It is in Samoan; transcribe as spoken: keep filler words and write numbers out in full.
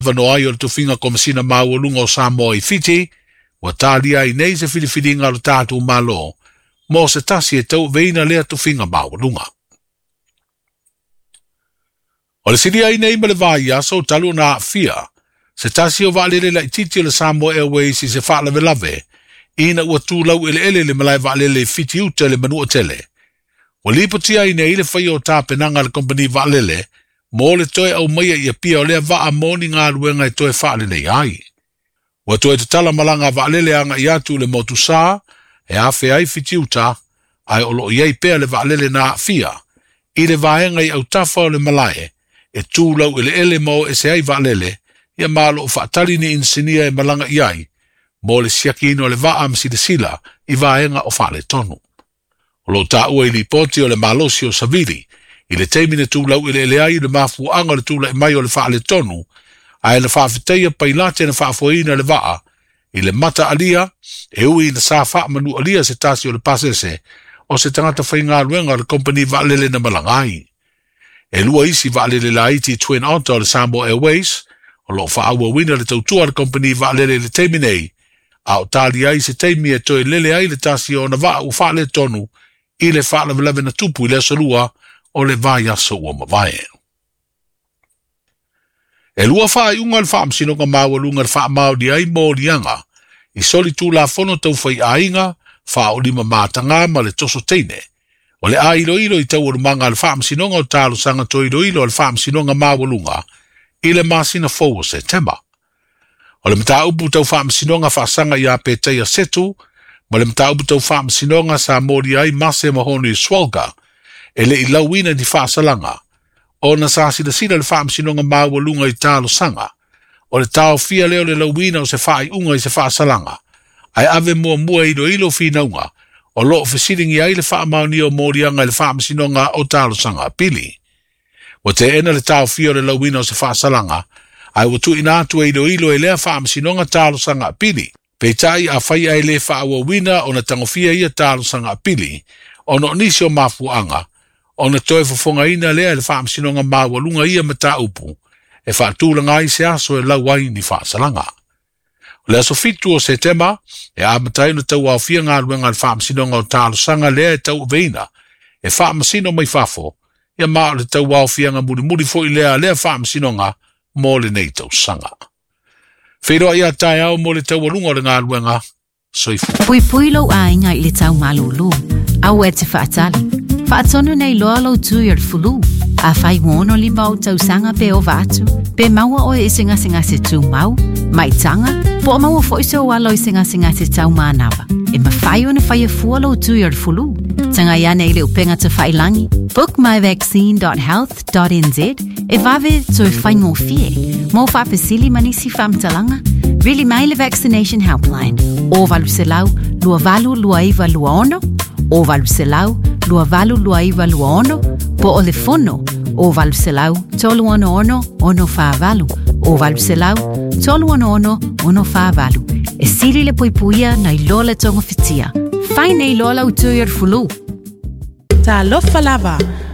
Avanoa ai o le tofiga Komesina Maualuga o Samoa i Fiti, ua talia ai nei se filifiliga a lo tatou Malo mo se tasi e tauaveina lea tofiga maualuga. O le silia ai nei ma le vaiaso talu ona aafia se tasi o vaalele laitiiti o le Samoa Airways i se faalavelave ina ua tu laueleele le malae vaalele i Fitiuta i le Manuatele. Ua lipotia ai nei le faia o tapenaga a le kompeni vaalele mo le toe aumaia i Apia o lea vaa mo ni galuega e toe faaleleia ai. Ua toe tatala malaga a vaalele agai atu i le motu sa e afea ai Fitiuta, ae o loo i ai pea le vaalele na aafia i le vaega i autafa o le malae e tu laueleele ma o ese ai vaalele ia, ma o loo faatali ni inisinia e malaga i ai mo le siakiina o le vaa ma silasila i vaega o faaletonu. O loo taua i lipoti o le malosi o savili i le taimi na tu laueleele ai le mafuaaga o le tulai mai o le faaletonu, ae na faafetaia pailate na faafoeina le vaa i le mataalia e ui na sa faamanualia se tasi o le pasese o se tagata faigaluega o le kompani vaalele na malaga ai. E lua isi vaalele laiti Twin Otter o le Samoa Airways o loo faaauauina le tautua a le kompani vaalele i le taimi nei, a o tali ai se taimi e toe lele ai le tasi o ona vaa ua faaletonu i le faalavelave na tupu i le aso lua o le vaiaso ua mavae. E lua faaiuga o le Faamasinoga Maualuga na faamaonia ai moliaga i solitulafono tau faiaiga faaolima mataga ma le toso teine. O le a iloilo i taualumaga a le Faamasinoga o Talosaga Toe Iloilo a le Faamasinoga Maualuga i le masina fou o Setema. O le mataupu tau faamasinoga faasaga ia Petaia Setu ma le mataupu tau faamasinoga sa molia ai Mase ma Honi Swalga e le i lauina ni faasalaga ona sa silasila le Faamasinoga Maualuga i talosaga o le taofia lea o le lauina o se faaiuga i se faasalaga, ae ave muamua e iloilo finauga o loo fesiligia ai le faamaonia o moliaga i le Faamasinoga o Talosaga Apili. Ua teena le taofia o le lauina o se faasalaga, ae ua tuuina atu e iloilo e lea Faamasinoga Talosaga Apili. Peitai afai ae le faaauauina ona tagofia ia talosaga apili ona o nisi o mafuaaga, ona toe fofogaina lea e le Faamasinoga Maualuga ia mataupu e faatulaga ai se aso e lau ai ni faasalaga. O le aso fitu o Setema e amata ai ona tauaofia galuega a le Faamasinoga o Talosaga lea e tauaveina e faamasino mai fafo ia, ma o le tauaofiaga mulimuli foi lea a lea Faamasinoga mo lenei tausaga. Feiloai a taeao mo le taualuga o le galuega. Soifua. Puipui lou aiga i le tau malūlū. Aua e te faatali. Faatonu nei loa lou tui o le fulu. Afai ua ono lima ou tausaga pe ova atu, pe maua oe i se gasegase tumau, maitaga, po o maua foi sou alo i se gasegase taumanava, e mafai ona faia fua lou tui o le fulu. Tagai ane i le upega tafailagi bookmyvaccine dot health dot N Z e vave toe faigofie. Mo faafesili ma nisi faamatalaga, vili mai le Vaccination Helpline o valu selau lua valu lua iva lua ono, o valu selau lua valu lua iva lua ono, po o le fono o valu selau tolu ono ono ono fa valu, o valu selau tolu ono ono ono fa valu. E sili le puipuia nai lo le togofitia. Fai nei loa lau tui o le fulu. Talofa lava.